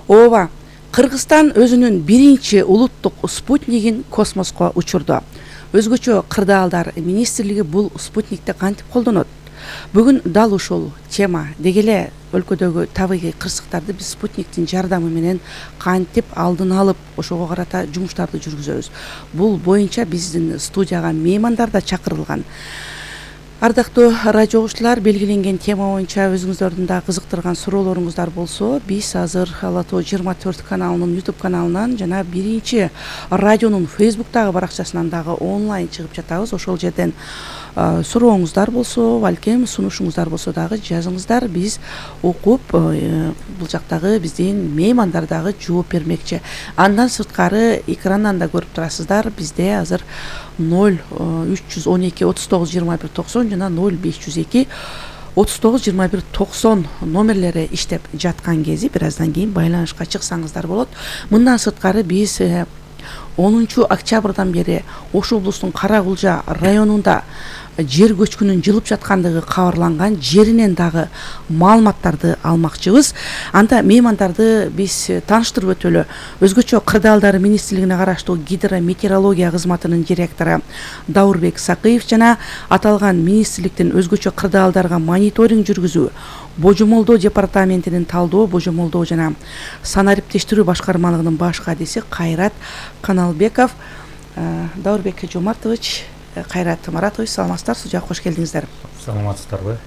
Ооба, Кыргызстан өзүнүн биринчи улуттук спутнигин космоско учурду. Өзгөчө кырдаалдар министрлиги бул спутникти кантип колдонот? Бүгүн дал ушул тема деги эле өлкөдөгү табигый кырсыктарды биз спутниктин жардамы менен кантип алдын алып ошого карата жумуштарды жүргүзөбүз. Бул боюнча биздин студияга меймандар да чакырылган. Ардактуу радио угуучулар, белгиленген тема боюнча өзүңүздөрдүн да кызыктырган суроолоруңуздар болсо, биз азыр Ала Тоо 24 каналынын YouTube каналынан жана биринчи радионун Facebook'тагы баракчасынан дагы онлайн чыгып жатабыз. Ошол жерден сурооңуздар болсо, балким сунушуңуздар болсо дагы жазыңыздар. Биз окуп, бул жактагы биздин меймандар дагы жооп бермекчи. Андан сырткары экрандан да көрүп турасыздар. Бизде азыр 0312 39 21 90 жана 0502 39 21 90 номерлери иштеп жаткан кези бир аздан кийин байланышка чыксаңыздар болот. Мындан сырткары биз 10 октябрдан бери Ош облусунун Кара Кулжа районунда жер көчкүнүн жылып жаткандыгы кабарланган жеринен дагы маалыматтарды алмакчыбыз. Анда меймандарды биз тааныштырып өтөлү. Өзгөчө кырдаалдар министрлигине караштуу гидрометеорология кызматынын директору Даурбек Сакыев жана аталган министрликтин өзгөчө кырдаалдарга мониторинг жүргүзүү, божомолдоо департаментинин талдоо, божомолдоо жана санариптештирүү башкармалыгынын баш кадиси Кайрат Каналбеков. Даурбек Жомартович, Кайрат Маратович, саламатсыздар, студияга кош келдиңиздер. Саламатсыздарбы?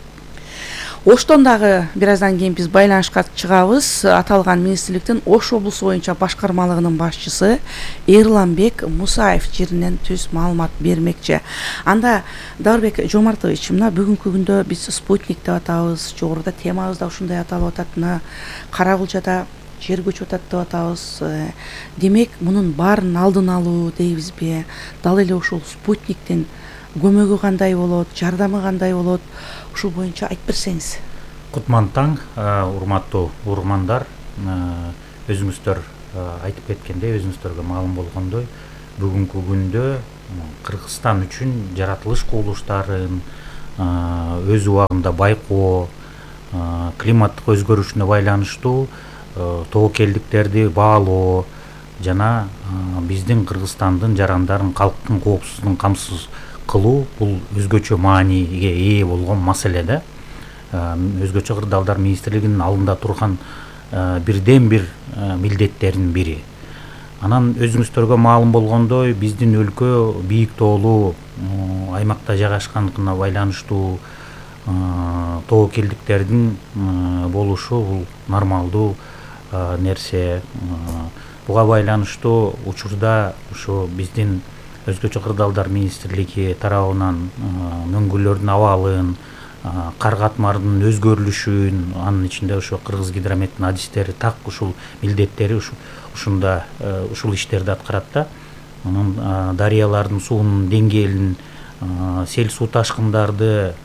Оштон дагы бир аздан кийин биз байланышка чыгабыз. Аталган министрликтин Ош облусу боюнча башкармалыгынын башчысы Эрланбек Мусаев жеринен түз маалымат бермекчи. Анда Даурбек Жомартович, мына бүгүнкү күндө биз спутник деп атабыз, жогоруда темабыз да ушундай аталып атат. Мына Кара Кулжада жер көчүп атат деп атабыз. Демек, мунун баарын алдын алуу дейбизби? Дал эле ушул спутниктин көмөгү кандай болот, жардамы кандай болот? Ушул боюнча айтып берсеңиз. Кутман таң, урматтуу угармандар. Өзүңүздөр айтып кеткендей, өзүңүздөргө маалым болгондой, бүгүнкү күндө Кыргызстан үчүн жаратылыш кубулуштарын өз убагында байкоо, климаттык өзгөрүшүнө байланыштуу тобокелдиктерди баалоо жана биздин Кыргызстандын жарандарын, калктын коопсуздугун камсыз кылуу бул өзгөчө мааниге ээ болгон маселе да. Өзгөчө кырдаалдар министрлигинин алдында турган бирден бир милдеттердин бири. Анан өзүңүздөргө маалым болгондой, биздин өлкө бийик тоолуу аймакта жайгашкандыгына байланыштуу тобокелдиктердин болушу бул нормалдуу нерсе. Буга байланыштуу учурда ушу биздин өзгөчө кырдаалдар министрлиги тарабынан мөңгүлөрдүн абалын, кар катмарынын өзгөрүлүшүн, анын ичинде ошо Кыргыз гидрометтин адистери так ушул милдеттери ушунда ушул иштерди аткарат да. Анын дарыялардын суунун деңгээлин, сел суу ташкындарды,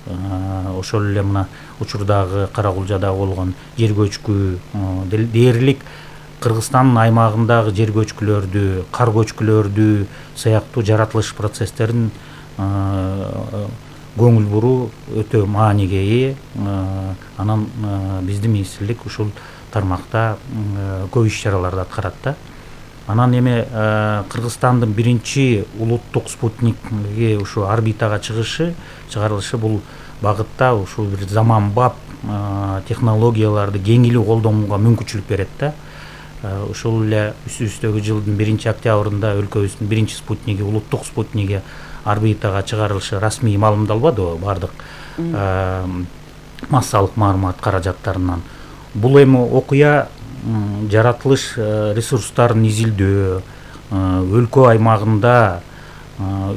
ошол эле мына учурдагы Кара Кулжада болгон жер көчкү дээрлик Кыргызстандын аймагындагы жер көчкүлөрдү, кар көчкүлөрдү сыяктуу жаратылыш процесстерин көңүл буруу өтө мааниге ээ. Анан биздин министрлик ушул тармакта көп иш чараларды аткарат да. Анан эми Кыргызстандын биринчи улуттук спутниги ушу орбитага чыгарылышы бул багытта ушул бир заманбап технологияларды кеңири колдонууга мүмкүнчүлүк берет да. Ушул эле үстүбүздөгү жылдын 1-октябрында өлкөбүздүн биринчи спутниги, улуттук спутниги орбитага чыгарылышы расмий маалымдалбадыбы бардык массалык маалымат каражаттарынан. Бул эми окуя жаратылыш ресурстарын изилдөө, өлкө аймагында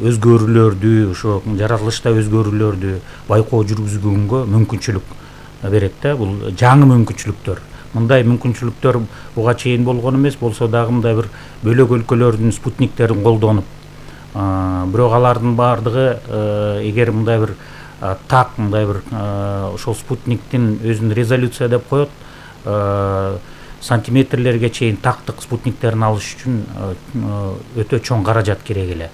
өзгөрүүлөрдү, ошо жаратылышта өзгөрүүлөрдү байкоо жүргүзгөнгө мүмкүнчүлүк берет да. Бул жаңы мүмкүнчүлүктөр. Мындай мүмкүнчүлүктөр буга чейин болгон эмес, болсо дагы мындай бир бөлөк өлкөлөрдүн спутниктерин колдонуп, бирок алардын баардыгы эгер мындай бир так мындай бир ошол спутниктин өзүн резолюция деп коет, сантиметрлерге чейин тактык спутниктерин алыш үчүн өтө чоң каражат керек эле.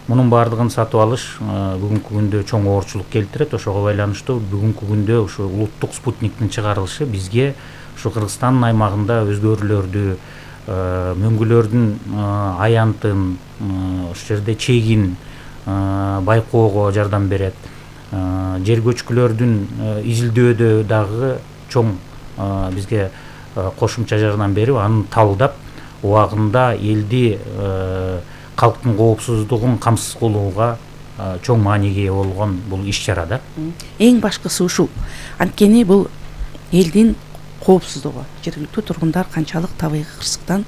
Мунун баардыгын сатып алыш бүгүнкү күндө чоң оорчулук келтирет. Ошого байланыштуу бүгүнкү күндө ушу улуттук спутниктин чыгарылышы бизге ушу Кыргызстандын аймагында өзгөрүүлөрдү, мөңгүлөрдүн аянтын, ушул жерде чегин байкоого жардам берет. Жер көчкүлөрдүн изилдөөдө дагы чоң бизге кошумча жардам берип, аны табылдап, убагында элди, калктын коопсуздугун камсыз кылууга чоң мааниге ээ болгон бул иш-чара да. Эң башкысы ушул. Анткени бул элдин коопсуздугу, жергиликтүү тургундар канчалык табигый кырсыктан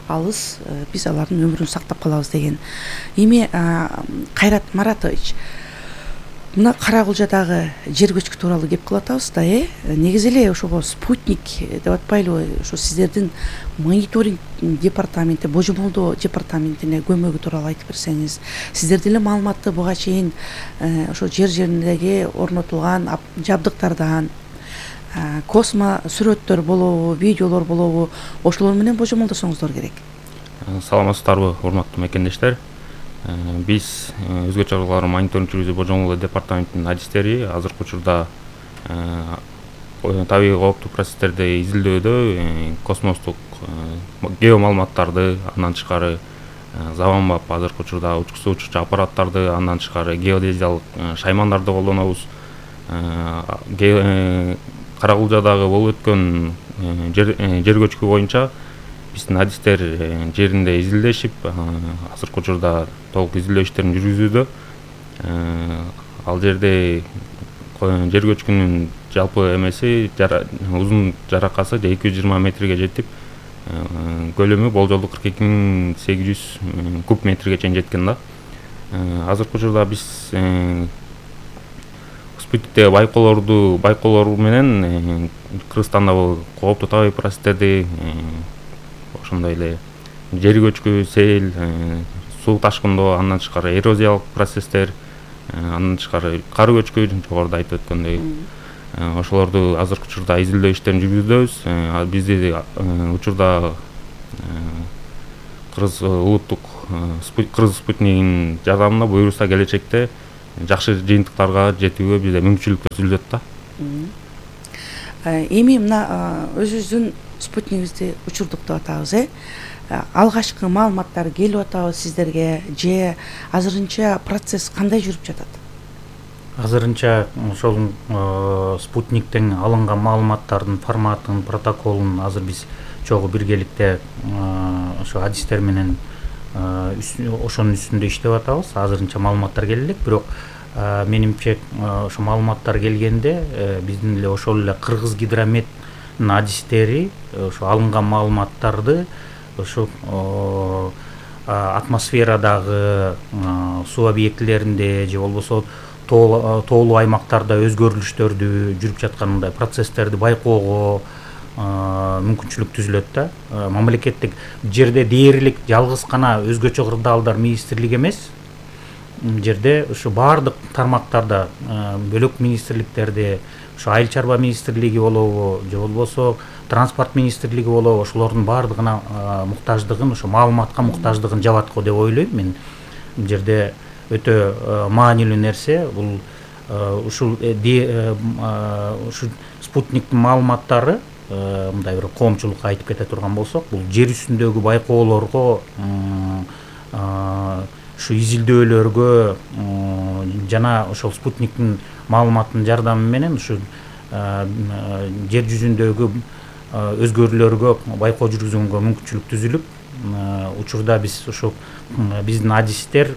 алыс, биз алардын өмүрүн сактап калабыз деген. Эми Кайрат Маратович, мына Кара-Кулжадагы жер көчкү тууралуу кеп кылып атабыз да, негизи эле ошого спутник деп атпайлыбы, ошо сиздердин мониторинг департаменти, божомолдоо департаментине көмөгү тууралуу айтып берсеңиз, сиздер деле маалыматты буга чейин ошо жер-жериндеги орнотулган жабдыктардан, космо сүрөттөр болобу, видеолор болобу, ошолор менен божомолдосоңуздар керек. Саламатсыздарбы, урматтуу мекендештер. Биз өзгө чаралар мониторинг жүргүзүү божомолдоо департаментинин адистери азыркы учурда табигый кооптуу процесстерди изилдөөдө космостук геомаалыматтарды, андан тышкары заманбап азыркы учурда учкусу учурчу аппараттарды, андан тышкары геодезиялык шаймандарды колдонобуз. Кара-Кулжадагы болуп өткөн жер көчкү боюнча биздин адистер жеринде изилдешип, азыркы учурда толук изилдөө иштерин жүргүзүүдө. Ал жерде жер көчкүнүн жалпы эмеси, узун жаракасы 220 метрге жетип, көлөмү болжолду 42.800 куб метрге чейин жеткен да. Азыркы учурда биз спутниктеги байкоолор менен Кыргызстандагы кооптуу табигый процесстерди, ошондой эле жер көчкү, сел, суу ташкындоо, андан тышкары эрозиялык процесстер, андан тышкары кар көчкү, жогоруда айтып өткөндөй, ошолорду азыркы учурда изилдөө иштерин жүргүзөбүз. Бизди учурда Кыргыз улуттук Кыргыз спутнигинин жардамында буюрса келечекте жакшы жыйынтыктарга жетүүгө бизде мүмкүнчүлүк түзүлөт да. Эми мына өзүбүздүн спутнигибизди учурдук деп атабыз, алгачкы маалыматтар келип атабы сиздерге же азырынча процесс кандай жүрүп жатат? Азырынча ошол спутниктен алынган маалыматтардын форматын, протоколун азыр биз чогуу биргеликте ошо адистер менен ошонун үстүндө иштеп атабыз. Азырынча маалыматтар келе элек, бирок менимче ошо маалыматтар келгенде биздин эле ошол эле Кыргыз Гидрометтин адистери ошо алынган маалыматтарды ошо атмосферадагы суу объектилеринде же болбосо тоолуу аймактарда өзгөрүлүштөрдү жүрүп жаткан мындай процесстерди байкоого мүмкүнчүлүк түзүлөт да. Мамлекеттик жерде дээрлик жалгыз гана өзгөчө кырдаалдар министрлиги эмес, жерде ушу баардык тармактарда бөлөк министрликтерде, ушу айыл чарба министрлиги болобу же болбосо транспорт министрлиги болобу, ошолордун баардыгына муктаждыгын, ошо маалыматка муктаждыгын жабат го деп ойлойм мен. Бул жерде өтө маанилүү нерсе бул ушул спутниктин маалыматтары, мындай бир коомчулукка айтып кете турган болсок, бул жер үстүндөгү байкоолорго, ушу изилдөөлөргө жана ошол спутниктин маалыматтын жардамы менен ушу жер жүзүндөгү өзгөрүүлөргө байкоо жүргүзгөнгө мүмкүнчүлүк түзүлүп, учурда биз ушу биздин адистер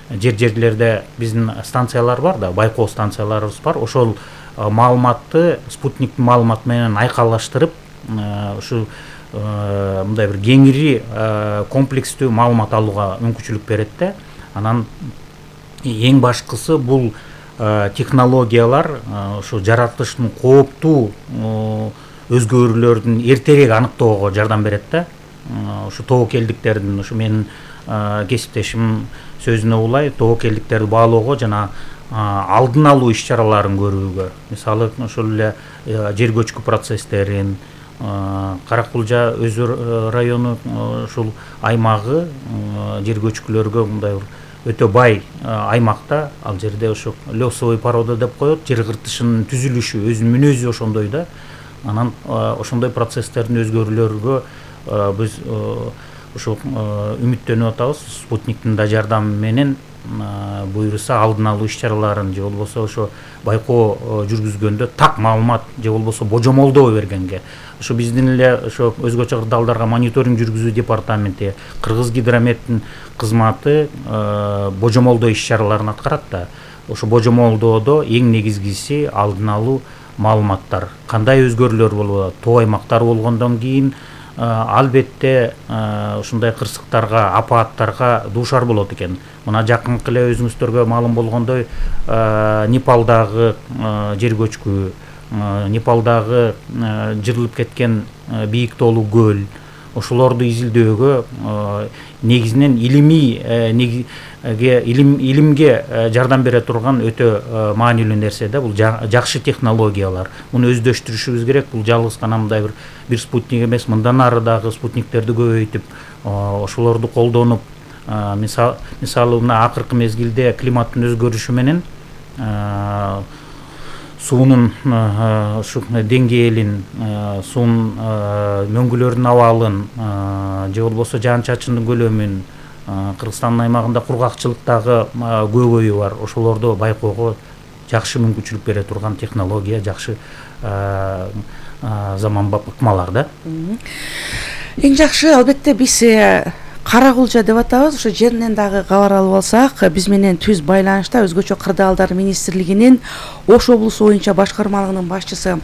жерлерде биздин станциялар бар да, байкоо станцияларыбыз бар. Ошол маалыматты спутниктин маалыматы менен айкалаштырып, ушу мындай бир кеңири комплекстүү маалымат алууга мүмкүнчүлүк берет да. Анан эң башкысы бул технологиялар ушу жаратылыштын кооптуу өзгөрүүлөрдүн эртерээк аныктоого жардам берет да. Ушу тобокелдиктердин, ушу менин кесиптешим сөзүнө улай, тобокелдиктерди баалоого жана алдын алуу иш-чараларын көрүүгө, мисалы ошол эле жер көчкү процесстерин, Кара-Кулжа өзү району ушул аймагы жер көчкүлөргө мындай бир өтө бай аймакта. Ал жерде ошо лесовый порода деп коет, жер кыртышынын түзүлүшү өзүнүн мүнөзү ошондой да. Анан ошондой процесстердин өзгөрүүлөргө биз ушул үмүттөнүп атабыз. Спутниктин да жардамы менен буюрса алдын алуу иш-чараларын же болбосо ошо байкоо жүргүзгөндө так маалымат же болбосо божомолдоо бергенге, ошо биздин эле ошо өзгөчө кырдаалдарга мониторинг жүргүзүү департаменти, Кыргыз гидрометтин кызматы божомолдоо иш-чараларын аткарат да. Ошо божомолдоодо эң негизгиси алдын алуу маалыматтар. Кандай өзгөрүүлөр болот, тоо аймактар болгондон кийин албетте ушундай кырсыктарга, апааттарга дуушар болот экен. Мына жакынкы эле өзүңүздөргө маалым болгондой Непалдагы жер көчкү, Непалдагы жырылып кеткен бийик тоолуу көл, ошолорду изилдөөгө негизинен илимге жардам бере турган өтө маанилүү нерсе да. Бул жакшы технологиялар. Муну өздөштүрүшүбүз керек. Бул жалгыз гана мындай бир спутник эмес, мындан ары дагы спутниктерди көбөйтүп, ошолорду колдонуп, мисалы мына акыркы мезгилде климаттын өзгөрүшү менен суунун ушу деңгээлин, суунун мөңгүлөрүнүн абалын же болбосо жаан чачындын көлөмүн, Кыргызстандын аймагында кургакчылыктагы көбөйүү бар. Ошолорду байкоого жакшы мүмкүнчүлүк бере турган технология, жакшы заманбап ыкмалар да. Эң жакшы албетте биз Каракулча деп атабыз. Ошо жеринен дагы кабар алып алсак, биз менен түз байланышта өзгөчө кырдаалдар министрлигинин Ош облусу боюнча башкармалыгынын башчысы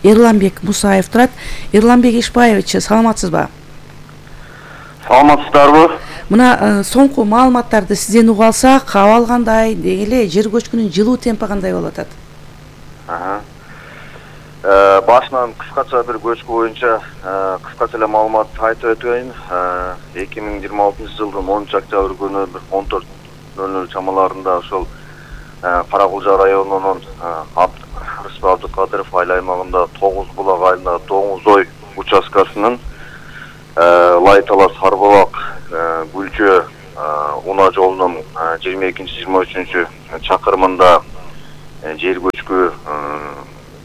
Эрланбек Мусаев турат. Эрланбек Ишбаевич, саламатсызбы? Саламатсыздарбы? Мына соңку маалыматтарды сизден угуп алсак, абал кандай, деги эле жер көчкүнүн жылуу темпи кандай болуп атат? Башынан кыскача бир көчкү боюнча кыскача эле маалымат айтып өтөйүн. 2026 жылдын 10 октябрь күнү 14:00 чамаларында ошол Каракулча районунун Рыспек Абдыкадыров айыл аймагында 9 булак айылында Доңузой участкасынын Лайтала Сарбалак Гүлчө унаа жолунун 22-23 чакырымында жер көчкү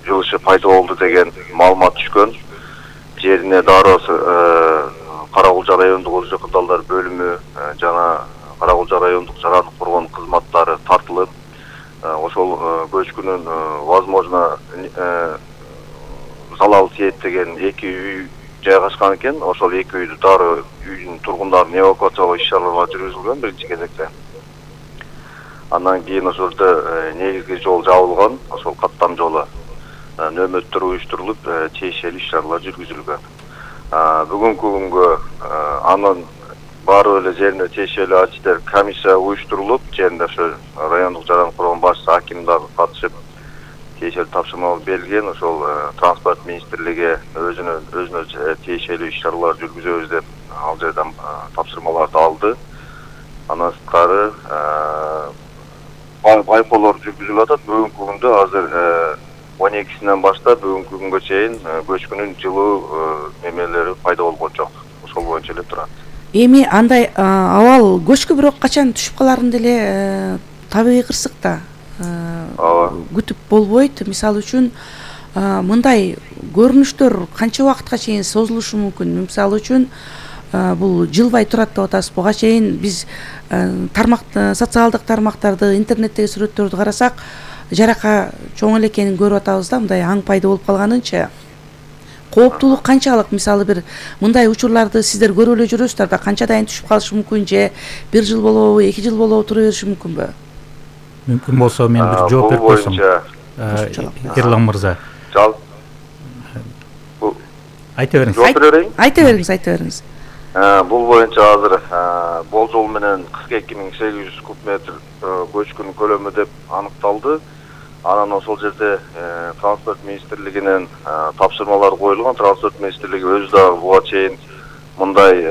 жылышы пайда болду деген маалымат түшкөн. Жерине дароо Каракулча райондук өзгөчө кырдаалдар бөлүмү жана Каракулча райондук жарандык коргоон кызматтары тартылып, ошол көчкүнүн возможно залал тиет деген 2 үй жайгашкан экен. Ошол 2 үйдү дароо үйдүн тургундарын эвакуациялоо иш-чаралары жүргүзүлгөн биринчи кезекте. Андан кийин ошол жерде негизги жол жабылган, ошол каттам жолу нөөмөттөр уюштурулуп, тиешелүү иш-чаралар жүргүзүлгөн. Бүгүнкү күнгө анын баары эле жерине тиешелүү арчилер комиссия уюштурулуп, жеринде ошо райондук жарандык коргоон башчысы аким дагы катышып тиешелүү тапшырмалар берилген. Ошол транспорт министрлиги өзүнө тиешелүү иш-чаралар жүргүзөбүз деп ал жерден тапшырмаларды алды. Андан сырткары байкоолор жүргүзүлүп атат. Бүгүнкү күндө азыр 12-синен баштап бүгүнкү күнгө чейин көчкүнүн жылуу эмелери пайда болгон жок. Ошол боюнча эле турат. Эми андай абал көчкү бирок качан түшүп каларын деле табигый кырсыкта күтүп болбойт. Мисалы үчүн мындай көрүнүштөр канча убакытка чейин созулушу мүмкүн? Мисалы үчүн бул жылбай турат деп атасыз. Буга чейин биз социалдык тармактарды, интернеттеги сүрөттөрдү карасак, жарака чоң эле экенин көрүп атабыз да, мындай аң пайда болуп калганынчы. Кооптулук канчалык? Мисалы бир мындай учурларды сиздер көрүп эле жүрөсүздөр да, канчадан түшүп калышы мүмкүн, же 1 жыл болобу, 2 жыл болобу тура бериши мүмкүнбү? Мүмкүн болсо мен бир жооп берип койсом. Эрлан мырза. Айта бериңиз. Айта бериңиз. Бул боюнча азыр болжол менен 42.800 куб метр көчкүнүн көлөмү деп аныкталды. Анан ошол жерде транспорт министрлигинен тапшырмалар коюлган. Транспорт министрлиги өзү дагы буга чейин мындай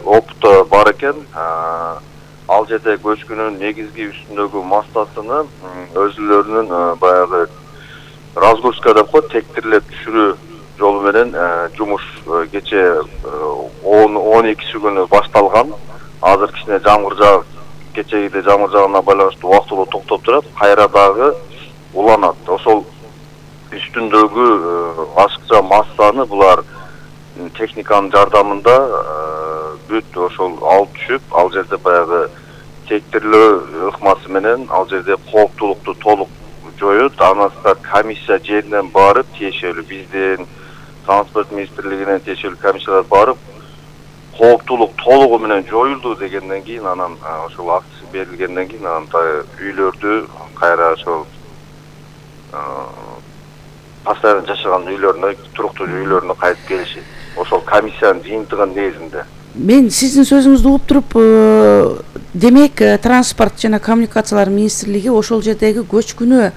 опыты бар экен. Ал жерде көчкүнүн негизги үстүндөгү мастасыны өзүлөрүнүн баягы разгрузка деп коет, тектирлеп түшүрүү жолу менен жумуш кече 12 күнү башталган. Азыр кичине жамгыр жаап, кечегиде жамгыр жаагына байланыштуу убактылуу токтоп турат, кайра дагы уланат. Ошол үстүндөгү ашыкча массаны булар техниканын жардамында бүт ошол алып түшүп, ал жерде баягы тектирлөө ыкмасы менен ал жерде кооптулукту толук жоюп, андан комиссия жеринен барып, тиешелүү биздин транспорт министрлигинен тиешелүү комиссиялар барып, кооптулук толугу менен жоюлду дегенден кийин, анан ошол акция берилгенден кийин анан үйлөрдү кайра ошол постоянно жашаган үйлөрүнө, туруктуу үйлөрүнө кайтып келишет. Ошол комиссиянын жыйынтыгынын негизинде. Мен сиздин сөзүңүздү угуп туруп, демек транспорт жана коммуникациялар министрлиги ошол жердеги көчкүнү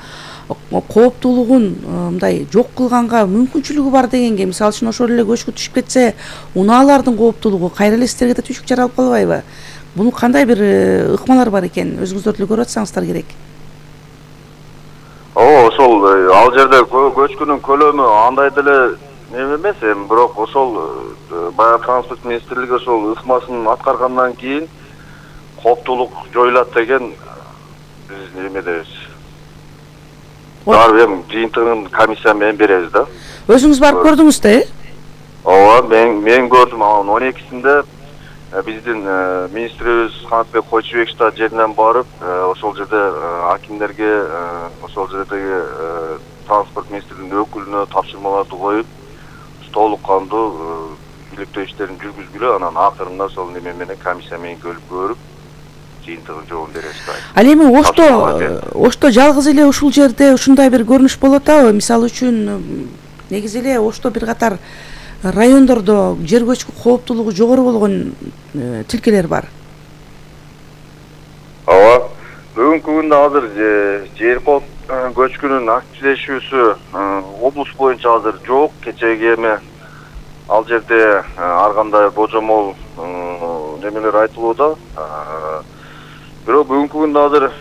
кооптуулугун мындай жок кылганга мүмкүнчүлүгү бар дегенге, мисалы үчүн ошол эле көчкү түшүп кетсе, унаалардын кооптуулугу кайра эле сиздерге да түшүк жаралып калбайбы? Бунун кандай бир ыкмалар бар экен, өзүңүздөр деле көрүп атсаңыздар керек. Ошол ал жерде көчкүнүн көлөмү андай деле эмес, эми бирок ошол баягы транспорт министрлиги ошол ыкмасын аткаргандан кийин кооптуулук жоюлат деген биз эмедебиз. Бар эми жыйынтыгын комиссия менен беребиз да. Өзүңүз барып көрдүңүз да, Ооба, мен көрдүм. Анын 12-синде биздин министрибиз Канатбек Койчубеков жеринен барып, ошол жерде акимдерге, ошол жердеги транспорт министрлигинин өкүлүнө тапшырмаларды коюп, толук кандуу иликтөө иштерин жүргүзгүлө, анан акырында ошол неме менен комиссия менен көрүп, жыйынтыгын жообун беребиз да. Ал эми Ошто жалгыз эле ушул жерде ушундай бир көрүнүш болуп атабы? Мисалы үчүн, негизи эле Ошто бир катар райондордо жер көчкү кооптуулугу жогору болгон тилкелер бар. Ооба. Бүгүнкү күндө азыр жер көчкүнүн активдешүүсү облус боюнча азыр жок. Кечеги эми ал жерде ар кандай божомол немелер айтылууда. Бирок бүгүнкү күндө азыр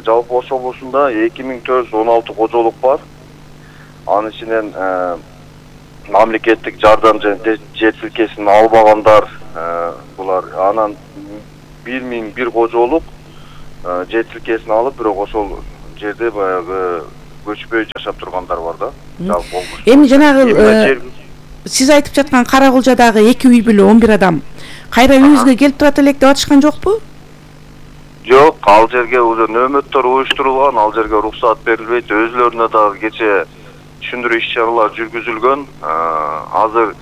жалпы Ош облусунда 2416 кожолук бар. Анын ичинен мамлекеттик жардам жана жер тилкесин албагандар булар. Анан 1001 кожолук жер тилкесин алып, бирок ошол жерде баягы көчпөй жашап тургандар бар да. Жалпы облус. Эми жанагы сиз айтып жаткан Каракулжадагы 2 үй бүлө 11 адам кайра үйүңүзгө келип турат элек деп атышкан жокпу? Жок, ал жерге уже нөөмөттөр уюштурулган, ал жерге уруксат берилбейт. Өзлөрүнө дагы кече түшүндүрүү иш-чаралар жүргүзүлгөн. Азыр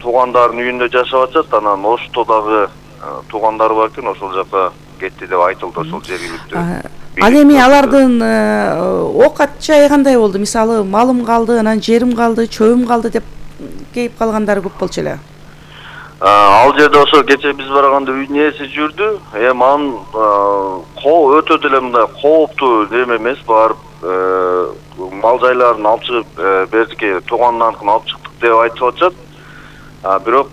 туугандардын үйүндө жашап атышат, анан Оштодагы туугандары бар экен, ошол жака кетти деп айтылды ошол жергиликтүү. Ал эми алардын оокат жайы кандай болду? Мисалы, малым калды, анан жерим калды, чөбүм калды деп кейип калгандары көп болчу эле. Ал жерде ошо кече биз барганда үйдүн ээси жүрдү. Эми анын өтө деле мындай кооптуу неме эмес, барып мал жайларын алып чыгып бердикке туугандарыныкын алып чыктык деп айтып атышат. Бирок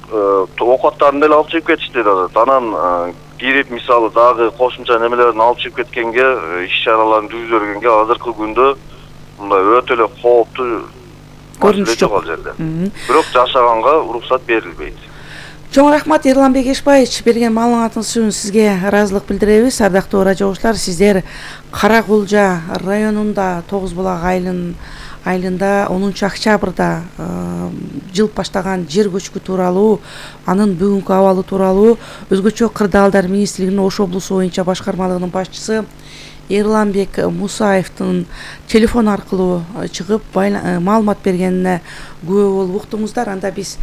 оокаттарын деле алып чыгып кетишти да. Анан кирип мисалы дагы кошумча немелерин алып чыгып кеткенге, иш-чараларын жүргүзө бергенге азыркы күндө мындай өтө эле кооптуу көрүнүш жок ал жерде. Бирок жашаганга уруксат берилбейт. Чоң рахмат Эрланбек Эшбаевич, берген маалыматыңыз үчүн сизге ыраазылык билдиребиз. Ардактуу радио угуучулар, сиздер Каракулжа районунда 9 булак айылында 10 октябрда жылып баштаган жер көчкү тууралуу, анын бүгүнкү абалы тууралуу өзгөчө кырдаалдар министрлигинин Ош облусу боюнча башкармалыгынын башчысы Эрланбек Мусаевдин телефон аркылуу чыгып маалымат бергенине күбө болуп уктуңуздар. Анда биз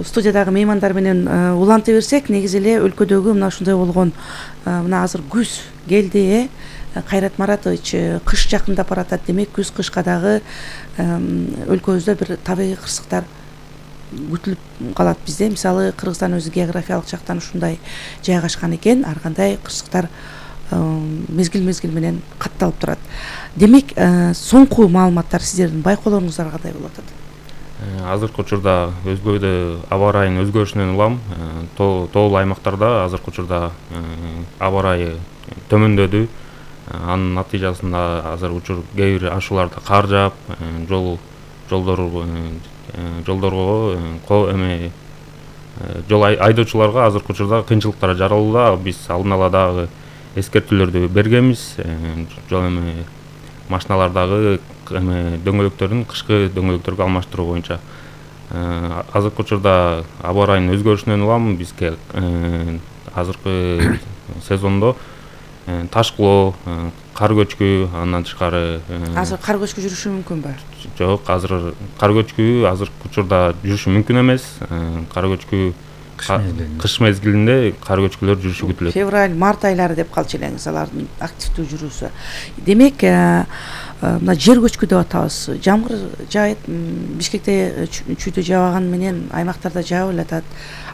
студиядагы меймандар менен уланта берсек, негизи эле өлкөдөгү мына ушундай болгон, мына азыр күз келди, Кайрат Маратович, кыш жакындап баратат. Демек күз-кышка дагы өлкөбүздө бир табигый кырсыктар күтүлүп калат бизде. Мисалы, Кыргызстан өзү географиялык жактан ушундай жайгашкан экен, ар кандай кырсыктар мезгил менен катталып турат. Демек, соңку маалыматтар сиздердин байкоолоруңуздар кандай болуп атат? Азыркы учурда өзгөдө аба ырайынын өзгөрүшүнөн улам тоолуу аймактарда азыркы учурда аба ырайы төмөндөдү. Анын натыйжасында азыр учур кээ бир ашууларда кар жаап, жол айдоочуларга азыркы учурда кыйынчылыктар жаралууда. Биз алдын ала дагы эскертүүлөрдү бергенбиз. Жол эми машиналардагы дөңгөлөктөрдүн кышкы дөңгөлөктөргө алмаштыруу боюнча. Азыркы учурда аба ырайынын өзгөрүшүнөн улам бизге азыркы сезондо ташкылоо, кар көчкү, андан тышкары Азыр кар көчкү жүрүшү мүмкүнбү? жок, азыр кар көчкү азыркы учурда жүрүшү мүмкүн эмес. Кар көчкү кыш мезгилинде кар көчкүлөр жүрүшү күтүлөт. Февраль, март айлары деп калчу элеңиз алардын активдүү жүрүүсү. Демек, мына жер көчкү деп атабыз. Жамгыр жаайт, Бишкекте чүйдө жаабаган менен аймактарда жаап элатат.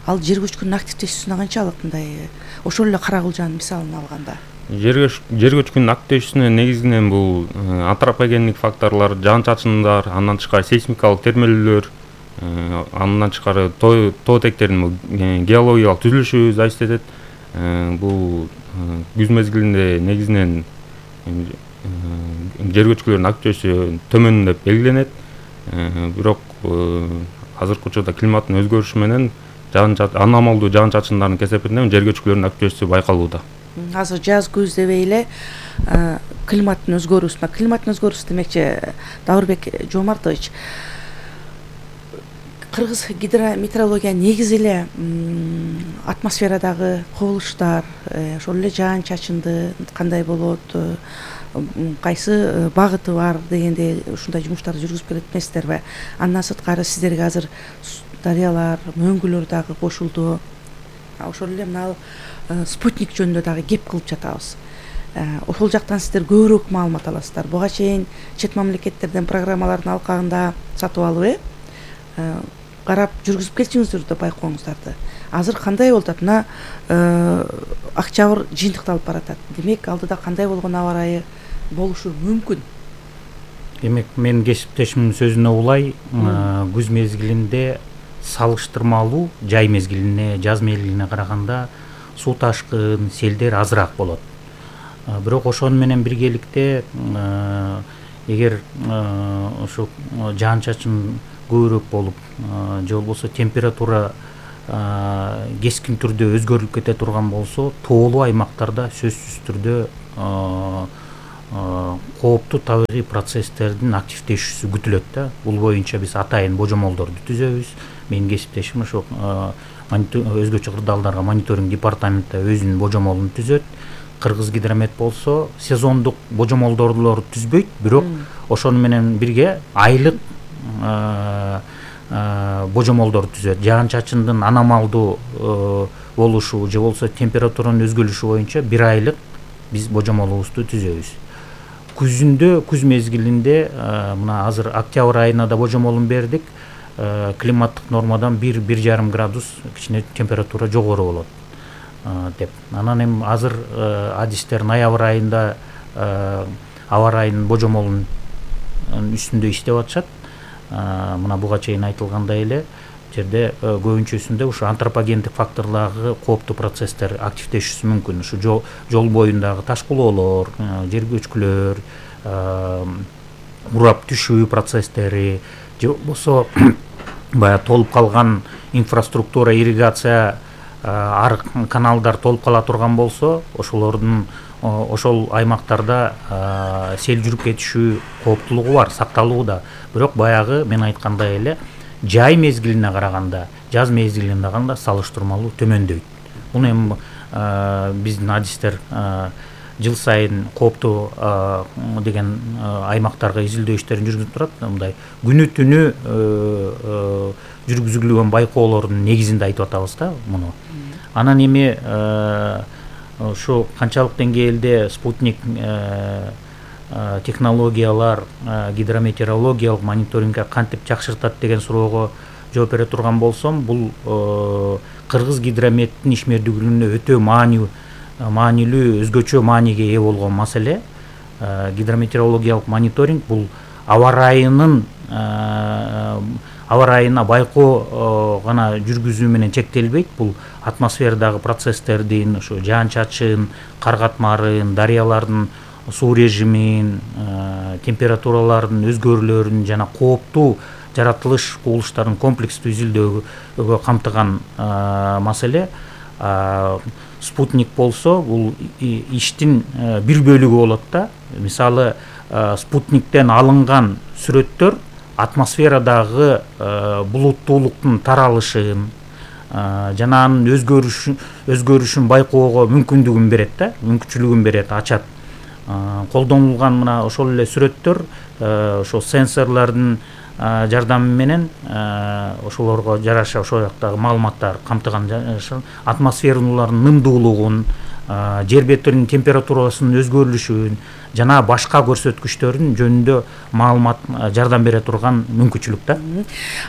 Ал жер көчкүнүн активдешүүсүнө канчалык мындай ошол эле Карагылжанын мисалын алганда? Жер көчкүнүн активдешүүсүнө негизинен бул антропогендик факторлор, жаан-чачындар, андан тышкары сейсмикалык термелүүлөр, андан тышкары тоо тектеринин геологиялык түзүлүшү зависит этет. Бул күз мезгилинде негизинен жер көчкүлөрүнүн активдешүүсү төмөн деп белгиленет. Бирок азыркы учурда климаттын өзгөрүшү менен аномалдуу жаан-чачындардын кесепетинен жер көчкүлөрүнүн активдешүүсү байкалууда. Азыр жаз күз дебей эле климаттын өзгөрүүсү демекчи Даурбек Жомартович, кыргыз гидрометеорология негизи эле атмосферадагы кубулуштар, ошол эле жаан-чачынды кандай болот, кайсы багыты бар дегендей ушундай жумуштарды жүргүзүп келет эмессиздерби? Андан сырткары сиздерге азыр дарыялар, мөңгүлөр дагы кошулду. Ошол эле мына спутник жөнүндө дагы кеп кылып жатабыз. Ошол жактан сиздер көбүрөөк маалымат аласыздар. Буга чейин чет мамлекеттерден программалардын алкагында сатып алып, карап жүргүзүп келчиңиздер да байкооңуздарды. Азыр кандай болуп атат? Мына Октябрь жыйынтыкталып баратат. Демек, алдыда кандай болгон аба ырайы болушу мүмкүн? Демек, менин кесиптешимдин сөзүнө улай, күз мезгилинде салыштырмалуу жай мезгилине, жаз мезгилине караганда суу ташкын, селдер азыраак болот. Бирок ошону менен биргеликте эгер ошо жаан-чачын көбүрөөк болуп, же болбосо температура кескин түрдө өзгөрүлүп кете турган болсо, тоолуу аймактарда сөзсүз түрдө кооптуу табигый процесстердин активдешүүсү күтүлөт да. Бул боюнча биз атайын божомолдорду түзөбүз. Менин кесиптешим ошо өзгөчө кырдаалдарга мониторинг департаменти өзүнүн божомолун түзөт. Кыргыз гидромет болсо сезондук божомолдорду түзбөйт, бирок ошону менен бирге айлык божомолдор түзөт. Жаан-чачындын аномалдуу болушу же болбосо температуранын өзгөрүшү боюнча бир айлык биз божомолубузду түзөбүз. Күз мезгилинде мына азыр октябрь айына да божомолун бердик. Климаттык нормадан 1–1,5 градус кичине температура жогору болот деп. Анан эми азыр адистер ноябрь айында аба ырайынын божомолунун үстүндө иштеп атышат. Мына буга чейин айтылгандай эле жерде көбүнчөсүндө ушу антропогендик факторлордогу кооптуу процесстер активдешүүсү мүмкүн. Ушу жол боюндагы ташкылоолор, жер көчкүлөр, урап түшүү процесстери, же болбосо баягы толуп калган инфраструктура, ирригация, арык каналдар толуп кала турган болсо, ошол аймактарда сел жүрүп кетишүү кооптулугу бар, сакталууда. Бирок баягы мен айткандай эле жай мезгилине караганда, жаз мезгилине караганда салыштырмалуу төмөндөйт. Муну эми биздин адистер жыл сайын кооптуу деген аймактарга изилдөө иштерин жүргүзүп турат. Мындай күнү түнү жүргүзүлгөн байкоолордун негизинде айтып атабыз да муну. Анан эми ушу канчалык деңгээлде спутник технологиялар гидрометеорологиялык мониторингге кантип жакшыртат деген суроого жооп бере турган болсом, бул кыргыз гидрометтин ишмердүүлүгүнө өтө маанилүү, өзгөчө мааниге ээ болгон маселе. Гидрометеорологиялык мониторинг бул аба ырайына байкоо гана жүргүзүү менен чектелбейт. Бул атмосферадагы процесстердин, ошо жаан-чачын, кар катмарын, дарыялардын суу режимин, температуралардын өзгөрүүлөрүн жана кооптуу жаратылыш кубулуштардын комплекстүү изилдөөгө камтыган маселе. спутник болсо бул иштин бир бөлүгү болот да. Мисалы спутниктен алынган сүрөттөр атмосферадагы булуттуулуктун таралышын жана анын өзгөрүшүн байкоого мүмкүндүгүн берет да, мүмкүнчүлүгүн берет, ачат. Колдонулган мына ошол эле сүрөттөр ошол сенсорлордун жардамы менен ошолорго жараша ошол жактагы маалыматтар камтыган атмосфералардын нымдуулугун, жер бетинин температурасынын өзгөрүлүшүн жана башка көрсөткүчтөрүн жөнүндө маалымат жардам бере турган мүмкүнчүлүк да.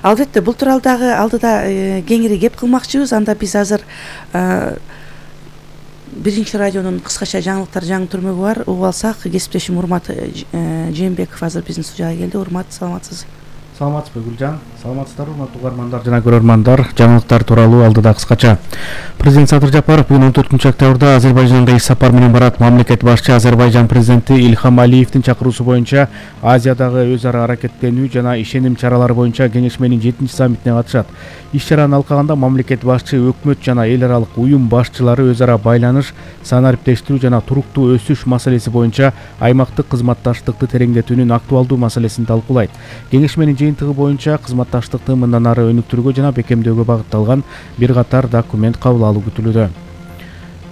Албетте, бул тууралуу дагы алдыда кеңири кеп кылмакчыбыз. Анда биз азыр биринчи радионун кыскача жаңылыктар жаңы түрмөгү бар. Угуп алсак, кесиптешим Урмат Жээнбеков азыр биздин студияга келди. Урмат, саламатсыз? Саламатсызбы Гүлжан? Саламатсыздарбы урматтуу угармандар жана көрөрмандар? Жаңылыктар тууралуу алдыда кыскача. Президент Садыр Жапаров бүгүн 14 октябрда Азербайжанга иш сапар менен барат. Мамлекет башчы Азербайжан президенти Ильхам Алиевдин чакыруусу боюнча Азиядагы өз ара аракеттенүү жана ишеним чаралары боюнча кеңешменин 7-саммитине катышат. Иш чараны алкаганда мамлекет башчы өкмөт жана эл аралык уюм башчылары өз ара байланыш, санариптештирүү жана туруктуу өсүш маселеси боюнча аймактык кызматташтыкты тереңдетүүнүн актуалдуу маселесин талкуулайт. Кеңешменин жыйынтыгы боюнча кызматташтыкты мындан ары өнүктүрүүгө жана бекемдөөгө багытталган бир катар документ кабыл алуу күтүлүүдө.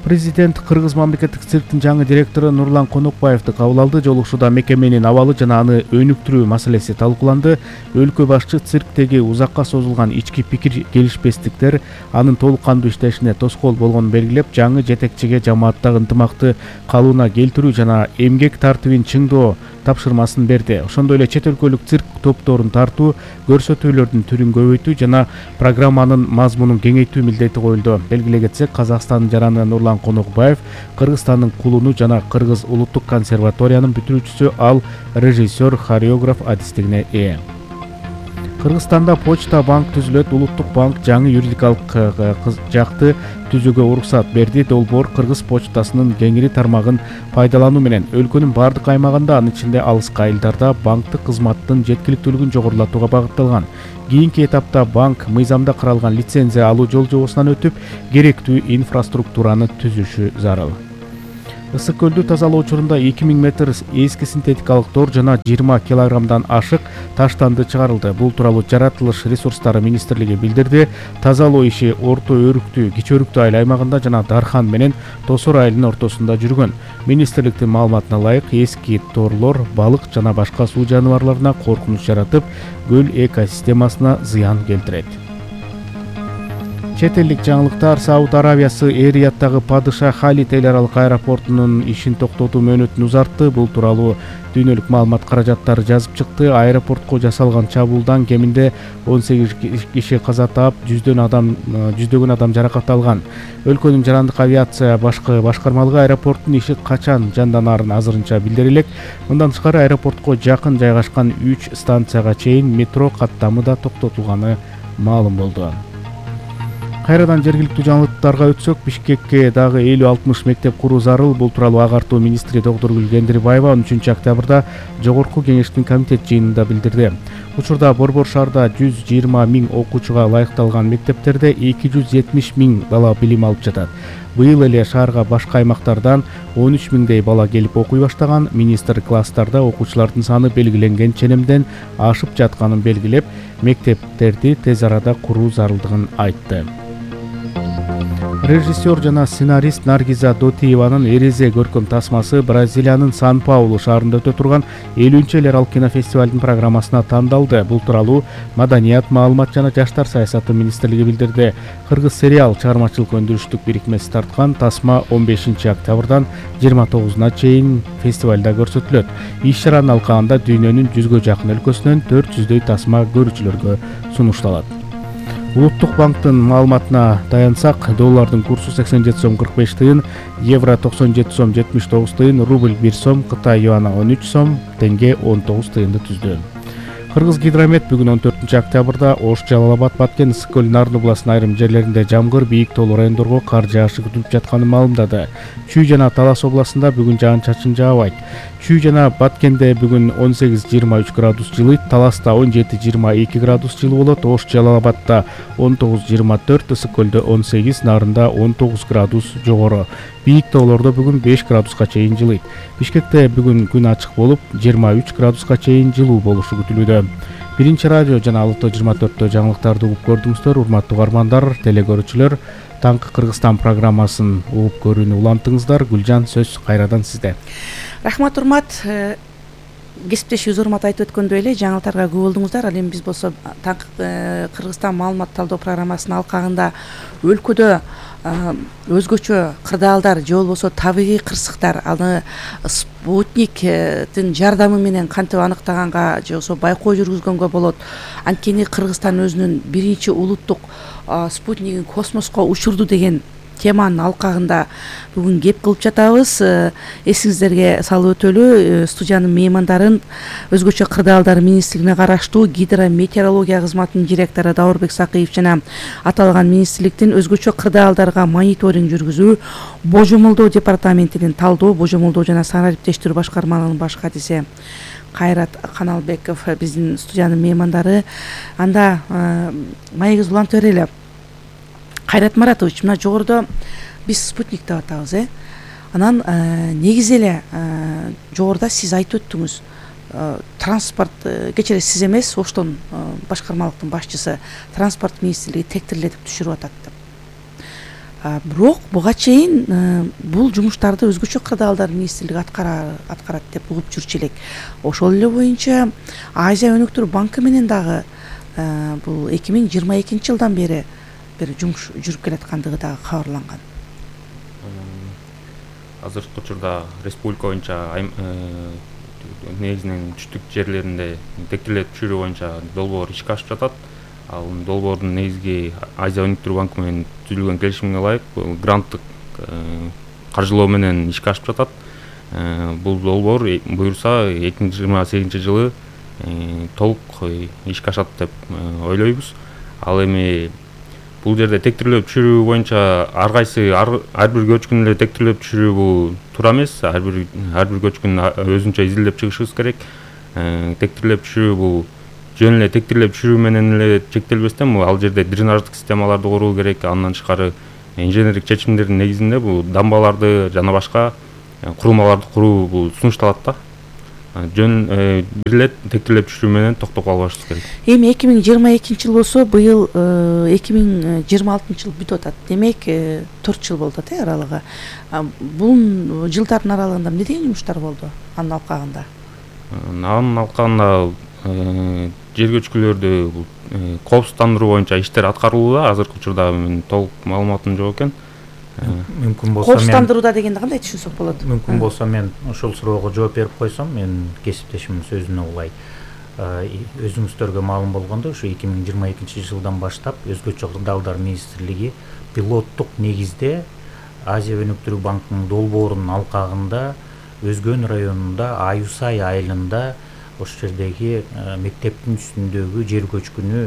Президент Кыргыз мамлекеттик цирктин жаңы директору Нурлан Конокбаевди кабыл алды. Жолугушууда мекеменин абалы жана аны өнүктүрүү маселеси талкууланды. Өлкө башчы цирктеги узакка созулган ички пикир келишпестиктер анын толук кандуу иштешине тоскоол болгонун белгилеп, жаңы жетекчиге жамааттагы ынтымакты калыбына келтирүү жана эмгек тартибин чыңдоо тапшырмасын берди. Ошондой эле чет өлкөлүк цирк топторун тартуу, көрсөтүүлөрдүн түрүн көбөйтүү жана программанын мазмунун кеңейтүү милдети коюлду. Белгилей кетсек, Казакстандын жараны Нурлан Конокбаев Кыргызстандын кулуну жана Кыргыз улуттук консерваториянын бүтүрүүчүсү, ал режиссер, хореограф адистигине ээ. Кыргызстанда почта банк түзүлөт. Улуттук банк жаңы юридикалык жакты түзүүгө уруксат берди. Долбоор Кыргыз почтасынын кеңири тармагын пайдалануу менен өлкөнүн бардык аймагында, анын ичинде алыскы айылдарда банктык кызматтын жеткиликтүүлүгүн жогорулатууга багытталган. Кийинки этапта банк мыйзамда каралган лицензия алуу жол-жобосунан өтүп, керектүү инфраструктураны түзүшү зарыл. Ысык көлдү тазалоо учурунда 2000 метр эски синтетикалык тор жана 20 килограммдан ашык таштанды чыгарылды. Бул тууралуу Жаратылыш ресурстары министрлиги билдирди. Тазалоо иши Орто Өрүктүү, Кичи Өрүктүү айыл аймагында жана Дархан менен Тосор айылынын ортосунда жүргөн. Министрликтин маалыматына ылайык, эски торлор балык жана башка суу жаныбарларына коркунуч жаратып, көл экосистемасына зыян келтирет. Чет элдик жаңылыктар. Сауд Аравиясы Эр-Рияddагы Падыша Халид эл аралык аэропортунун ишин токтотуу мөөнөтүн узартты. Бул тууралуу дүйнөлүк маалымат каражаттары жазып чыкты. Аэропортко жасалган чабуулдан кеминде 18 киши каза таап, жүздөгөн адам жаракат алган. Өлкөнүн жарандык авиация башкармалыгы аэропорттун иши качан жанданарын азырынча билдире элек. Мындан тышкары аэропортко жакын жайгашкан 3 станцияга чейин метро каттамы да токтотулганы маалым болду. Кайрадан жергиликтүү жаңылыктарга өтсөк, Бишкекке дагы 50-60 мектеп куруу зарыл. Бул тууралуу агартуу министри Доктургүл Кендирбаева 13 октябрда жогорку кеңештин комитет жыйынында билдирди. Учурда Борбор шаарда 120 000 окуучуга ылайыкталган мектептерде 270 000 бала билим алып жатат. Быйыл эле шаарга башка аймактардан 13 000дей бала келип окуй баштаган. Министр класстарда окуучулардын саны белгиленген ченемден ашып жатканын белгилеп, мектептерди тез арада куруу зарылдыгын айтты. Режиссер жана сценарист Наргиза Дотиеванын Эрезе көркөм тасмасы Бразилиянын Сан-Паулу шаарында өтө турган 50-эл эл аралык кинофестивалдын программасына тандалды. Бул тууралуу Маданият, маалымат жана жаштар саясаты министрлиги билдирди. Кыргыз сериал чыгармачылык өндүрүштүк бириктмеси тарткан тасма 15 октябрдан 29-на чейин фестивалда көрсөтүлөт. Иш чаранын алкагында дүйнөнүн 100гө жакын өлкөсүнөн 400дөй тасма көрүүчүлөргө сунушталат. Улуттук банктын маалыматына таянсак, доллардын курсу 87 сом 45 тыйын, евро 97 сом 79 тыйын, рубль 1 сом, Кытай юаны 13 сом, тенге 19 тыйынды түздү. Кыргызгидромет бүгүн 14 октябрда Ош, Жалал Абад, Баткен, Ысык көл, Нарын областынын айрым жерлеринде жамгыр, бийик тоолуу райондорго кар жаашы күтүлүп жатканын маалымдады. Чүй жана Талас областында бүгүн жаан-чачын жаабайт. Чүй жана Баткенде бүгүн 18-23 градус жылыйт, Таласта 17-22 градус жылуу болот, Ош, Жалал Абадта 19-24, Ысык көлдө 18, Нарында 19 градус жогору. Бийик тоолордо бүгүн 5 градуска чейин жылыйт. Бишкекте бүгүн күн ачык болуп, 23 градуска чейин жылуу болушу күтүлүүдө. Биринчи радио жана Алты 24 жаңылыктарды угуп көрдүңүздөр, урматтуу угармандар, телегөрүүчүлөр. Таңкы Кыргызстан программасын угуп көрүүнү улантыңыздар. Гүлжан, сөз кайрадан сизде. Рахмат, урмат. Кесиптешибиз урмат айтып өткөндөй эле жаңылыктарга күбө болдуңуздар. Ал эми биз болсо Таңкы Кыргызстан маалымат талдоо программасынын алкагында өлкөдө өзгөчө кырдаалдар же болбосо табигый кырсыктар аны спутниктин жардамы менен кантип аныктаганга же болбосо байкоо жүргүзгөнгө болот. Анткени Кыргызстан өзүнүн биринчи улуттук спутнигин космоско учурду деген теманын алкагында бүгүн кеп кылып жатабыз. Эсиңиздерге салып өтөлү, студиянын меймандарын өзгөчө кырдаалдар министрлигине караштуу гидрометеорология кызматынын директору Даурбек Сакыев жана аталган министрликтин өзгөчө кырдаалдарга мониторинг жүргүзүү божомолдоо департаментинин талдоо, божомолдоо жана санариптештирүү башкармалыгынын баш катиси Кайрат Каналбеков биздин студиянын меймандары. Анда маегибизди улантып берели. Кайрат Маратович, мына жогорудо биз спутник деп атабыз, Анан негизи эле жогоруда сиз айтып өттүңүз. Транспорт кечээ сиз эмес, Оштон башкармалыктын башчысы транспорт министрлиги тектирлетип түшүрүп атат деп. Бирок буга чейин бул жумуштарды өзгөчө кырдаалдар министрлиги аткарат деп угуп жүрчү элек. Ошол эле боюнча Азия өнүктүрүү банкы менен дагы бул 2022 жылдан бери жумуш жүрүп келаткандыгы дагы кабарланган. Азыркы учурда республика боюнча негизинен түштүк жерлеринде тектирлетип түшүрүү боюнча долбоор ишке ашып жатат. Ал долбоордун негизги Азия өнүктүрүү банкы менен түзүлгөн келишимге ылайык гранттык каржылоо менен ишке ашып жатат. Бул долбоор буюрса 2028 жылы толук ишке ашат деп ойлойбуз. Ал эми бул жерде тектирлеп түшүрүү боюнча ар бир көчкүн эле тектирлеп түшүрүү бул туура эмес. Ар бир көчкүн өзүнчө изилдеп чыгышыбыз керек. Тектирлеп түшүрүү бул жөн эле тектирлеп түшүрүү менен эле чектелбестен ал жерде дренаждык системаларды куруу керек. Андан тышкары инженердик чечимдердин негизинде бул дамбаларды жана башка курулмаларды куруу бул сунушталат да. Жөн бир эле тектирлеп түшүрүү менен токтоп калбашыбыз керек. Эми 2022 жыл болсо, быйыл 2026 жыл бүтүп атат. Демек 4 жыл болду аралыгы. Бул жылдардын аралыгында эмне деген жумуштар болду анын алкагында? Анын алкагында жер көчкүлөрдү коопсуздандыруу боюнча иштер аткарылууда. Азыркы учурда менин толук маалыматым жок экен. Мүмкүн болсо коопсуздандырууда дегенди кандай түшүнсөк болот? Мүмкүн болсо мен ошол суроого жооп берип койсом, мен кесиптешимдин сөзүнө улай. Өзүңүздөргө маалым болгондой, ушу 2022 жылдан баштап өзгөчө кырдаалдар министрлиги пилоттук негизде Азия өнүктүрүү банкынын долбоорунун алкагында Өзгөн районунда Аюсай айылында ошол жердеги мектептин үстүндөгү жер көчкүнү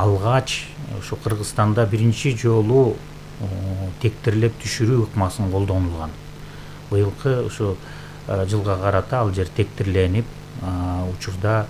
алгач ушу Кыргызстанда биринчи жолу тектирлеп түшүрүү ыкмасын колдонулган. Быйылкы ушу жылга карата ал жер тектирленип, учурда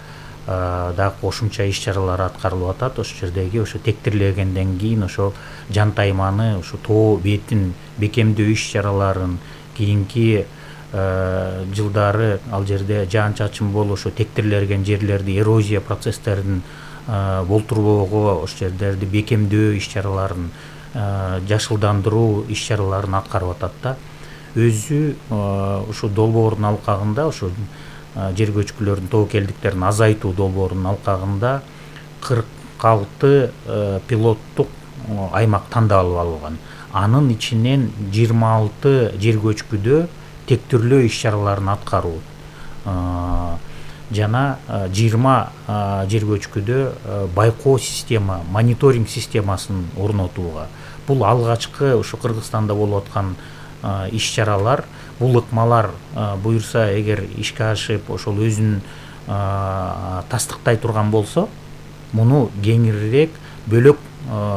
дагы кошумча иш-чаралар аткарылып атат. Ошол жердеги ошо тектирлегенден кийин ошол жантайманы, ушу тоо бетин бекемдөө иш-чараларын кийинки жылдары ал жерде жаан-чачын болуп, ошо тектирлеген жерлерди эрозия процесстерин болтурбоого, ошол жерлерди бекемдөө иш-чараларын жашылдандыруу иш-чараларын аткарып атат да. Өзү ушу долбоордун алкагында, ушу жер көчкүлөрдүн тобокелдиктерин азайтуу долбоорунун алкагында 46 пилоттук аймак тандалып алынган. Анын ичинен 26 жер көчкүдө тектирлөө иш-чараларын аткаруу жана 20 жер көчкүдө байкоо система, мониторинг системасын орнотууга. Бул алгачкы ушу Кыргызстанда болуп аткан иш-чаралар. Бул ыкмалар буюрса эгер ишке ашып, ошол өзүнүн тастыктай турган болсо, муну кеңирээк бөлөк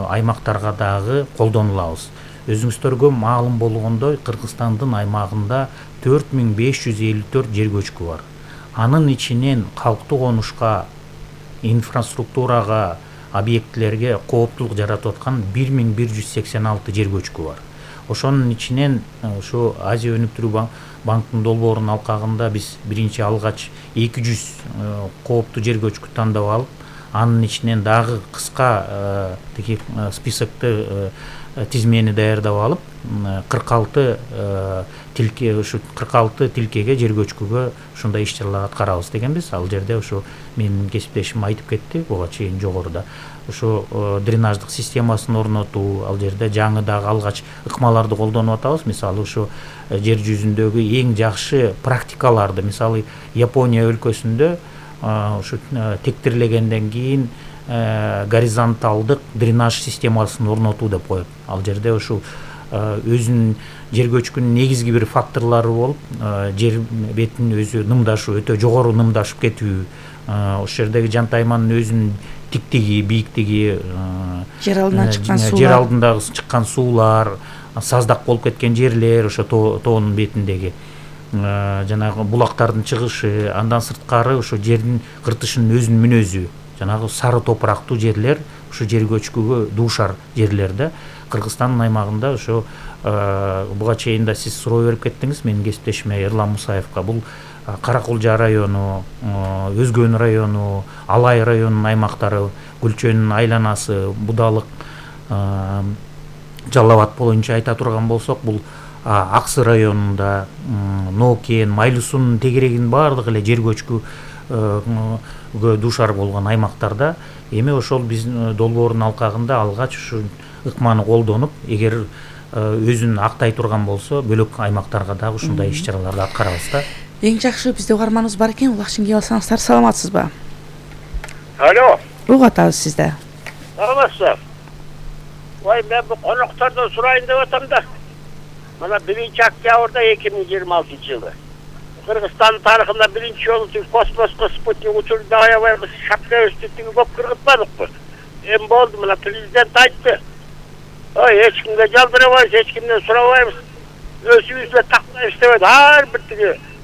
аймактарга дагы колдонулабыз. Өзүңүздөргө маалым болгондой, Кыргызстандын аймагында 4554 жер көчкү бар. Анын ичинен калктуу конушка, инфраструктурага, объектилерге кооптулук жаратып аткан 1186 жер көчкү бар. Ошонун ичинен ушу Азия өнүктүрүү банктын долбоорунун алкагында биз биринчи алгач 200 кооптуу жер көчкү тандап алып, анын ичинен дагы кыска списокты тизмени даярдап алып, 46 тилке, ушу 46 тилкеге жер көчкүгө ушундай иш-чаралар аткарабыз дегенбиз. Ал жерде ушу менин кесиптешим айтып кетти буга чейин жогоруда. Ушу дренаждык системасын орнотуу, ал жерде жаңы дагы алгач ыкмаларды колдонуп атабыз. Мисалы ушу жер жүзүндөгү эң жакшы практикаларды, мисалы Япония өлкөсүндө ушу тектирлегенден кийин горизонталдык дренаж системасын орнотуу деп коет. Ал жерде ушу өзүнүн жер көчкүнүн негизги бир факторлору болуп, жер бетинин өзү нымдашуу, өтө жогору нымдашып кетүү, ошол жердеги жантайманын өзүнүн тиктиги, бийиктиги, жер алдынан чыккан суулар, жер алдындагы чыккан суулар, саздак болуп кеткен жерлер, ошо тоонун бетиндеги жанагы булактардын чыгышы, андан сырткары ошо жердин кыртышынын өзүнүн мүнөзү, жанагы сары топурактуу жерлер ушу жер көчкүгө дуушар жерлер да. Кыргызстандын аймагында ошо буга чейин да сиз суроо берип кеттиңиз менин кесиптешиме Эрлан Мусаевка. Бул Каракулжа району, Өзгөн району, Алай районунун аймактары, Гүлчөнүн айланасы, Будалык, Жалал Абад боюнча айта турган болсок, бул Аксы районунда, Нокен, Майлуу суунун тегерегинин баардыгы эле жер көчкүгө дуушар болгон аймактарда. Эми ошол биздин долбоордун алкагында алгач ушу ыкманы колдонуп, эгер өзүн актай турган болсо, бөлөк аймактарга дагы ушундай иш-чараларды аткарабыз да. Эң жакшы бизде угарманыбыз бар экен, улакчын кеп алсаңыздар. Саламатсызбы? Алло. Угат атабыз сизде. Саламатсызбы? Ой, мен бу коноктордон сурайын деп атам да. Мына 1-октябрда 2026 жылы Кыргызстан тарыхында биринчи жолу космоско спутник учурунда аябай шапка өстүктүгү көп кыргызбадыкпы. Эми болду, мына президент айтты. Ой, эч кимге жалбырабайбыз, эч кимден сурабайбыз. Өзүбүз эле тактайбыз деп, ар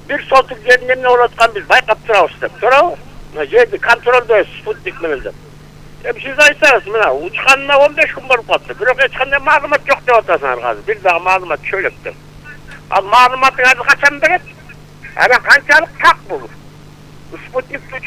бир сотук жерде эмне болуп атканын биз байкап турабыз деп. Туурабы? Мына жерди контролдойбуз спутник менен деп. Эми сиз айтсаңыз, мына учканына 15 күн болуп калды. Бирок эч кандай маалымат жок деп атасыңар азыр. Бир дагы маалымат чөйрөк деп. Ал маалыматыңарды качан берет? Анан канчалык так бул? Спутниктин